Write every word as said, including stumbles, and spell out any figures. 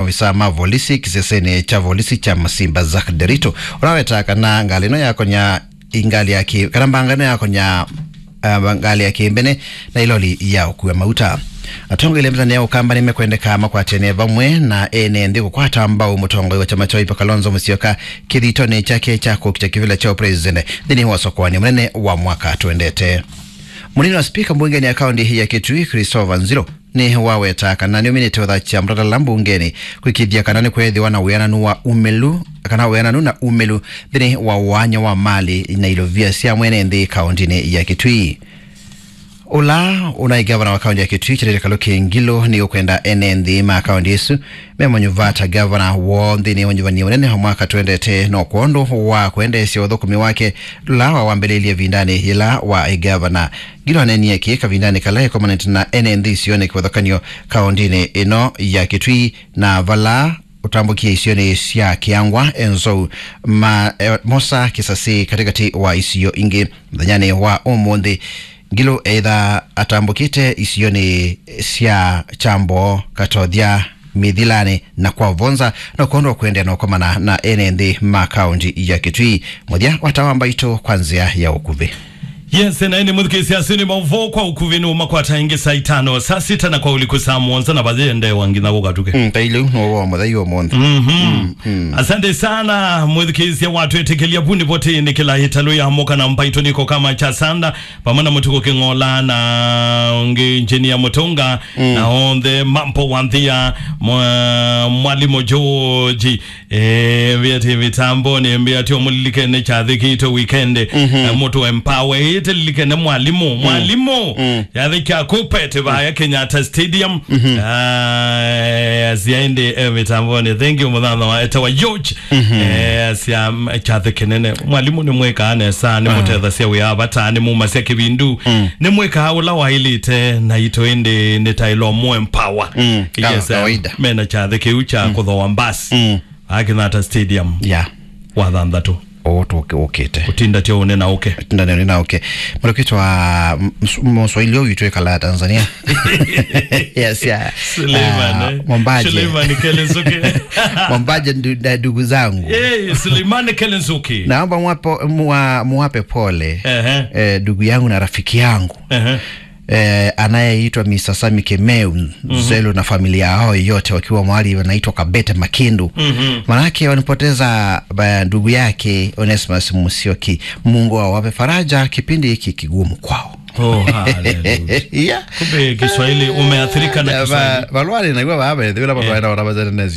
Maovisa ma volisi kĩsesenĩ kya volisi kya Masimba, Zack Derito, ũla wetaa kana ngalĩ ĩno yakonya ngalĩ ya kĩ-, kana mbanga ĩno yakonya, ah, ngalĩ ya kĩmbene na ĩloli ya ũkua mauta. Atongoelya mĩtane ya Ũkamba nĩmekwendeka makwatene vamwe na ene nthĩ kũkwata mbau mũtongoi wa kyama kya Wiper Kalonzo Musyoka kĩthitonĩ kyake kya kũkita kĩvĩla kya ũpresident nthĩnĩ wa ũsokoani mũnene wa mwaka twendete. Mũnini wa spika mbungenĩ ya kaũntĩ ya Kitui, Christopher Nziro, nĩ waweta kana nĩũminĩte ũthakya mũtatala mbungenĩ kwĩkĩthya kana nĩkweethĩwa na wĩananu wa umĩlu, kana wĩananu na umĩlu nthĩnĩ wa ũany'a wa mali na ilovia sya mwene nthĩ kaũntĩnĩ ya Kitui. Ũla ũnaĩ ngavana wa kaũntĩ ya Kitui, Kithure Kalũki Ngilu, nĩ ũkwenda ene nthĩ ma kaũntĩ ĩsu memanyuva ta ngavana woo nthĩnĩ wa ũnyuvani mũnene wa mwaka twendete, no kwondũ wa kwendeesya ũthũkũmi wake ũla wawambĩlĩĩlye ĩvindanĩ yĩla waĩ ngavana. Ngilu aneenie kĩĩ kavindanĩ kala ĩkomanĩte na ene nthĩ isionĩ kĩvathũkany'o kaũntĩnĩ ĩno ya Kitui, na vala ũtambũkie isionĩ sya Kĩangwa, Enzou, ma, eh, Mosa, Kisasi, katĩkatĩ wa isio ingĩ. Mũthenyanĩ wa ũmũnthĩ, Ngilu eĩtha atambũkĩte isionĩ sya Kyambo, Katothya, Mithilanĩ na kwa Vonza, no kwondũ wa kũendeea na ũkomana na ene nthĩ ma kaũntĩ ya Kitui. Mũthya wa tawa mbaitũ kwa nzĩa ya ũkuvĩ. Yes, na ĩndĩ mũthikĩĩsya, asu nĩ maũvoo kwa ũkuvĩ nĩ ũmakwata ĩngĩ saa itano, saa sita na kwa ũliku saa mũonza na vayendeewa nginya kũkatũke. Mm, ta ĩlĩ ũu nĩ ũvoo mũthei ũmũnthĩ. Mhm. Mm, mm. Asante sana, mũthikĩĩsya watwĩtĩkĩlya vu nĩ voti nĩ kĩla ĩtalũ ya mũka na mbaitũ nĩko kama cha sanda, vamwe na Mũtuku Kĩng'ola na ũngĩ Engineer Mũtũnga, mm, na onthe mambo wa nthĩa, mwa-, Mwalimu George, eh, mbĩa ti mĩtambonĩ, mbĩa ti ũmũlilikene kyathĩ kitũ weekend, mhm, eh, mũtũ empower, ĩtĩlilikene mwalimu, mm, mwalimu, mm, kyathĩ kya Kuppet vaya Kenyatta Stadium, mhm, ah, syaende, eh, mĩtambonĩ. Thank you, mũthano wa etawa George. Mhm. Eh, sya, mm, kyathĩ kĩnene. Mwalimu nĩ mwĩkaa nesa, nĩ, ah, mũtethasya wĩa vata, nĩ mumasya kĩvindu. Mm. Nĩ mwĩkaa ũla waĩlĩte na itũ ĩndĩ nĩ taĩlo mũ empower. Mm. Yes, kama, eh, kawaida. Mena kyathĩ kĩu kya, mm, kũthoa mbasi. Mm. Akinata Stadium. Yeah. Wa thanthatũ. Ũũ tũkĩ-, ũkĩte. Ũtinda tyo ũne na ũke. Ũtinda nĩ ũne na ũke. Mũndũ kwĩtwa, m-, ms-, Mũswahili ũyũ witũ ekala Tanzania. Yes, yeah. Suleiman, ah, eh? Mombaje. Suleiman Kelenzuki. Mombaje ndu-, na ndugu zangu. Eh, Suleiman Kelenzuki. Naomba mwapo-, mwa-, muwape pole, ehe, eh, ndugu yangu na rafiki yangu. Ehe. Eh, anayeitwa Mister Sami Kemeu, mhm, Zelu na familia yao yote wakiwa mahali wanaitwa Kabete Makindu. Mhm. Manake walipoteza, ba-, ndugu yake Onesmus Musyoki. Mungu awape faraja kipindi hiki kigumu kwao. Oh, hallelujah. Yeah. Kumbe Kiswahili umeathirika na, ah, Kiswahili. Ba-, balwale na iwa babe, vile balwale na wana bazana